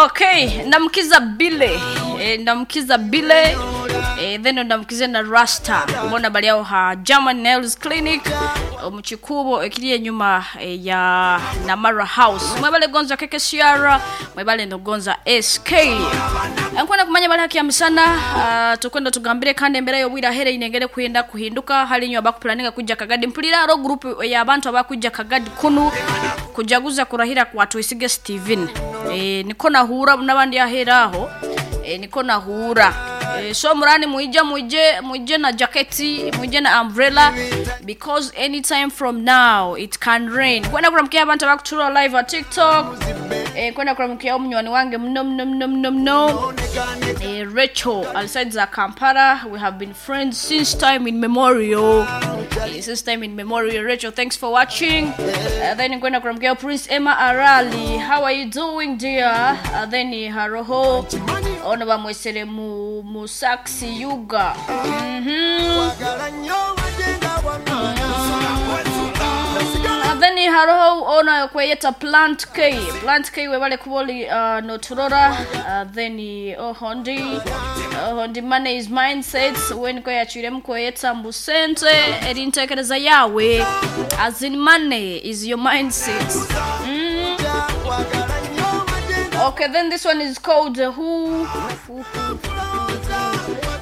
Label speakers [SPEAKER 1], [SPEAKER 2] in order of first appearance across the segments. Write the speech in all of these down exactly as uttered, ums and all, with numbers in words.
[SPEAKER 1] Okay, ndamukiza Bile. E, ndamukiza Bile. E, then ndamukize na Rasta. Mbona bali aho ha German Nails Clinic omu kikubo ekiri enyuma e, ya Namara House. Mwebale gonza keke Ciara, mwebale ndo S K. Nkwenda kumanya bali haki ya misana, uh, tukwenda tugambire kandi embera y'obwira here inengere kuyenda kuhinduka hali nyo abakupulaninga kujja Kagadi. Mpulira aro group y'abantu abakujja Kagadi kunu kujaguza kurahira kwa Tuyisige Steven. E, niko nahura n'abandi ahera aho, e, niko nahura. e, so murani muije muije muije na jaketi, muije na umbrella, because anytime from now it can rain. Kwenda kuramkia abantu abakutura live at TikTok. e, kwenda kuramkia omunywani wange mno mno mno mno mno, e, Rachel aliside za Kampala. We have been friends since time in memorial, e, since time in memorial. Rachel, thanks for watching. uh, then kwenda kuramkia Prince Emma Arali. How are you doing, dear? uh, then haroho ono bamwesere mu mu saxi yuga mhm Uh, then haroho ono kweyeta Plant K. Plant K, webale kuboli uh, noturora. uh, then ohondi ohondi money is mindset when ko yachiremu kweyeta mbusente erintekereza yawe, as in money is your mindset mm. Okay, then this one is called uh, who, who, who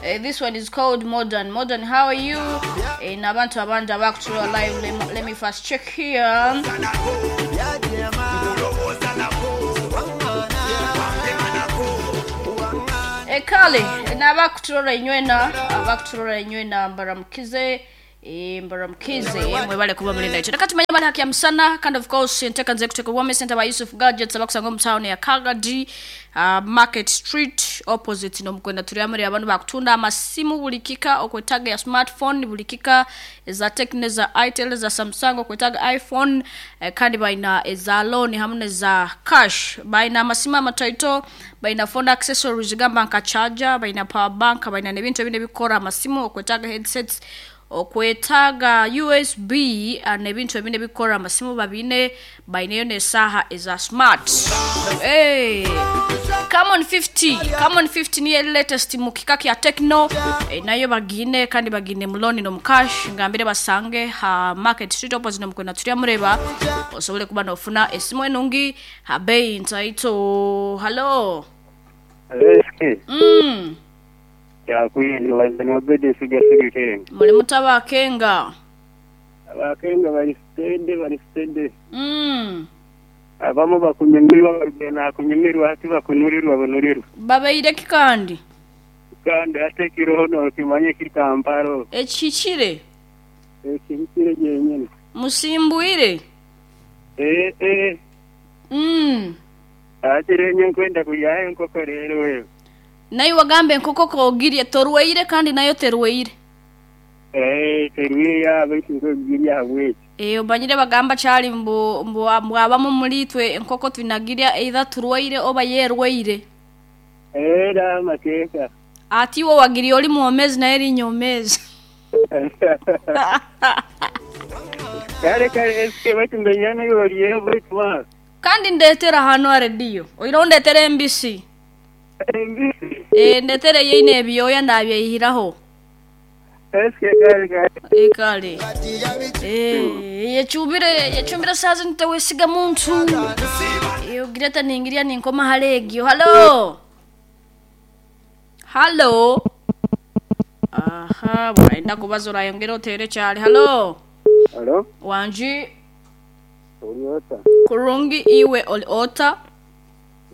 [SPEAKER 1] Uh, this one is called Modern. Modern, how are you? Eh, n'abantu abandi abakutura live. Let me, let me first check here. Eh, kale n'abakuturora inywena, abakuturora inywena, mbaramukize. Eh, mbaramukize mwebale kuba muli naitwe. Reka tumanye mali haki ya msana. Kandi of course nteka nze kuteeka Wame Center by Yusuf Gadgets abakusanga mu town ya Kagadi, uh, Market Street opposite nomukwenda turi amuri. Abantu bakutunda amasimu buli kika, okwetaga ya smartphone buli kika, eza Tecno, za Itel, za Samsung, okwetaga iPhone, eh, kandi balina eza loan hamwe neza cash. Balina amasimu amataito, balina phone accessories gamba nka charger, balina power bank, balina n'ebintu ebindi ebikora amasimu, okwetaga headsets, okwetaaga U S B, uh, n'ebintu ebindi ebikora amasimu babine. Baineyo n'esaaha eza smart. Hey. Camon fifty, Camon fifty niyo latest mu kika kya Tecno, e, nayo bagine kandi bagine mu loan no mu cash. Ngambire basange ha Market Street opposite nomukwenda turya mureba osobole kuba nofuna esimu enungi ha bei ntaito. Hello.
[SPEAKER 2] Eski,
[SPEAKER 1] mm.
[SPEAKER 2] kyakwindi wazani wabede siga siga kenga.
[SPEAKER 1] Muli mutaba kenga?
[SPEAKER 2] Abakenga bali steady, bali steady.
[SPEAKER 1] mm.
[SPEAKER 2] Abamu bakunyumirwa bagenda kunyumirwa hati bakunurirwa banurirwa.
[SPEAKER 1] Babeireki kandi?
[SPEAKER 2] Kandi ate kiroho nokimanye kiri Kampala.
[SPEAKER 1] Ekihikire.
[SPEAKER 2] Ekihikire gyenyine.
[SPEAKER 1] Musimbwire.
[SPEAKER 2] Eh eh.
[SPEAKER 1] mm.
[SPEAKER 2] Ate renye nkwenda kuyayo enkoko rero wewe.
[SPEAKER 1] Naye wagambe enkoko kogirye torweire kandi nayo terweire.
[SPEAKER 2] Eh, terwiya baitu nkogirya habweki.
[SPEAKER 1] Eh, omanyire bagamba kyali mbu mbu mbu abamu muri itwe enkoko twinagirya either turwaire oba yerwaire.
[SPEAKER 2] Era amateeka.
[SPEAKER 1] Ati iwe wagiriye oli mwomezi naye eri nyomezi.
[SPEAKER 2] Kale kale eske baitu mbenyana yoliyo baitu wa.
[SPEAKER 1] Kandi ndetera hano arediyo oira ndetera embisi.
[SPEAKER 2] Embisi.
[SPEAKER 1] Eh, ndetere yeine ebyoya ndabyeyihiraho.
[SPEAKER 2] Eske kale kale.
[SPEAKER 1] Ekale, eh, yechubire yechumbire sazi ntewesiga muntu. Eh, ogireta ningiria ninkoma halegio. Halo, halo. Aha, buraenda kubaza urayongera otere cyane. Halo.
[SPEAKER 2] Halo?
[SPEAKER 1] Wanji.
[SPEAKER 2] Oli ota?
[SPEAKER 1] Kurungi, iwe oli ota?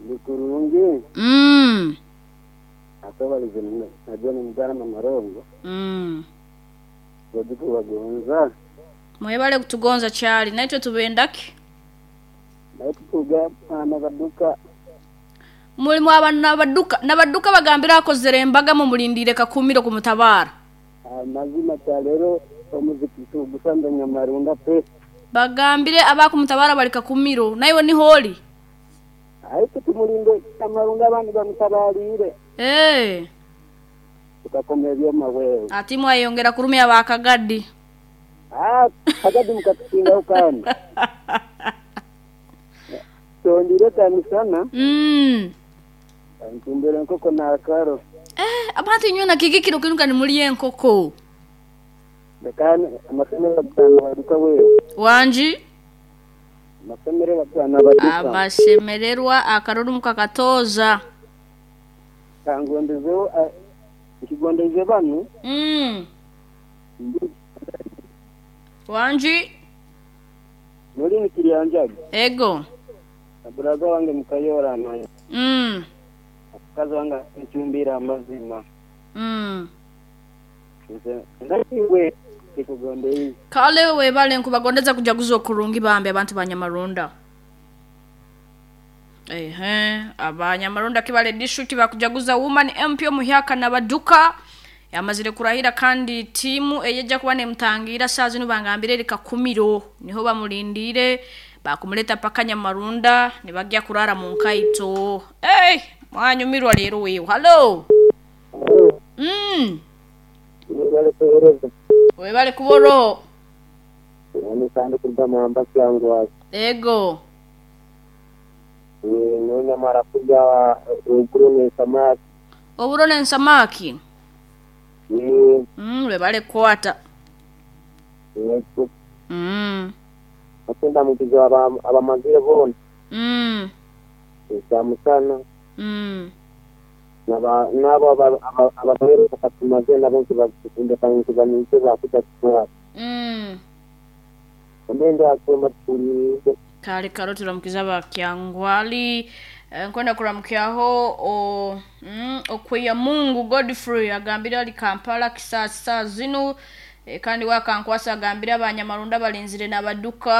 [SPEAKER 2] Ndi kurungi.
[SPEAKER 1] mm.
[SPEAKER 2] Akabalize najua ni mugana marongo.
[SPEAKER 1] mm.
[SPEAKER 2] Bagonza.
[SPEAKER 1] Mwebale kutugonza cyali, naitwe tubendaki.
[SPEAKER 2] Naye tutuga n'abaduka.
[SPEAKER 1] Mulimu abantu n'abaduka n'abaduka bagambira akozere embaga mumulindire kakumiro kumutabara.
[SPEAKER 2] Amazima kya leero omuziki tugusanze Nyamarunda pe.
[SPEAKER 1] Bagambire abakumutabara bali kakumiro naiwe niholi.
[SPEAKER 2] Ariko tumulinde Nyamarunda abandi bamutabalire.
[SPEAKER 1] Eh.
[SPEAKER 2] Tukakoma ebyoma wewe.
[SPEAKER 1] Ati mwayongera kurumya bakagadi.
[SPEAKER 2] Ah, kagadi mukatusingaho kandi. Ndire kyamisana
[SPEAKER 1] Mm.
[SPEAKER 2] ntumbere enkoko n'akaro.
[SPEAKER 1] Eh, abantu inywe na kiki kiro kinuka nimuli enkoko.
[SPEAKER 2] Leka amasomero bagana baduka wewe.
[SPEAKER 1] Wanji
[SPEAKER 2] Amasomero bagana baduka.
[SPEAKER 1] amashemererwa akaruru mukakatoza.
[SPEAKER 2] Kangondezeho nkigondeze banu
[SPEAKER 1] Mm. Wanji
[SPEAKER 2] muri nikiryanjaga.
[SPEAKER 1] ego.
[SPEAKER 2] Aburaza wange mukayora naye.
[SPEAKER 1] Mm.
[SPEAKER 2] Kazi wange nchumbira amazima.
[SPEAKER 1] Mm.
[SPEAKER 2] Nze ndakiwe kikugondeize.
[SPEAKER 1] Kale webale nkubagondeza kujaguza okurungi bambi abantu banyamarunda. Ehe, abanyamarunda kibale district bakujaguza woman M P omuhyaka nabaduka yamazire kurahira, kandi timu eyejja kuba nemutangira saa zino bangambire eri Kakumiro, niho bamulindire bakumuleta paka Nyamarunda nibajya kurara mu nkaito. Hey, mwanyumirwa leero wewe. Hello. Mm.
[SPEAKER 2] Webale kuhereza.
[SPEAKER 1] Webale kuboro.
[SPEAKER 2] Nani kandi kugamba kyangwa.
[SPEAKER 1] Ego.
[SPEAKER 2] Nonya mara kuja oburo ne samaki.
[SPEAKER 1] Oburo n'ensamaki.
[SPEAKER 2] Ni
[SPEAKER 1] Mm, webale kukwata.
[SPEAKER 2] yego.
[SPEAKER 1] Mm.
[SPEAKER 2] Akenda mukizo aba abamazire bona.
[SPEAKER 1] Mm.
[SPEAKER 2] Samusana
[SPEAKER 1] Mm.
[SPEAKER 2] naba nabo abasomero bakatumaze nabo nkibakunda kandi nkibaninze bakuja kuba.
[SPEAKER 1] Mm.
[SPEAKER 2] Ndende akwema tulize.
[SPEAKER 1] Kale karo turamukiza bakyangwali. Eh, nkwenda kuramukyaho o mm, okweya Mungu Godfrey agambira ali Kampala kisasa zino, e, kandi wakankwasa agambira abanyamarunda balinzire n'abaduka.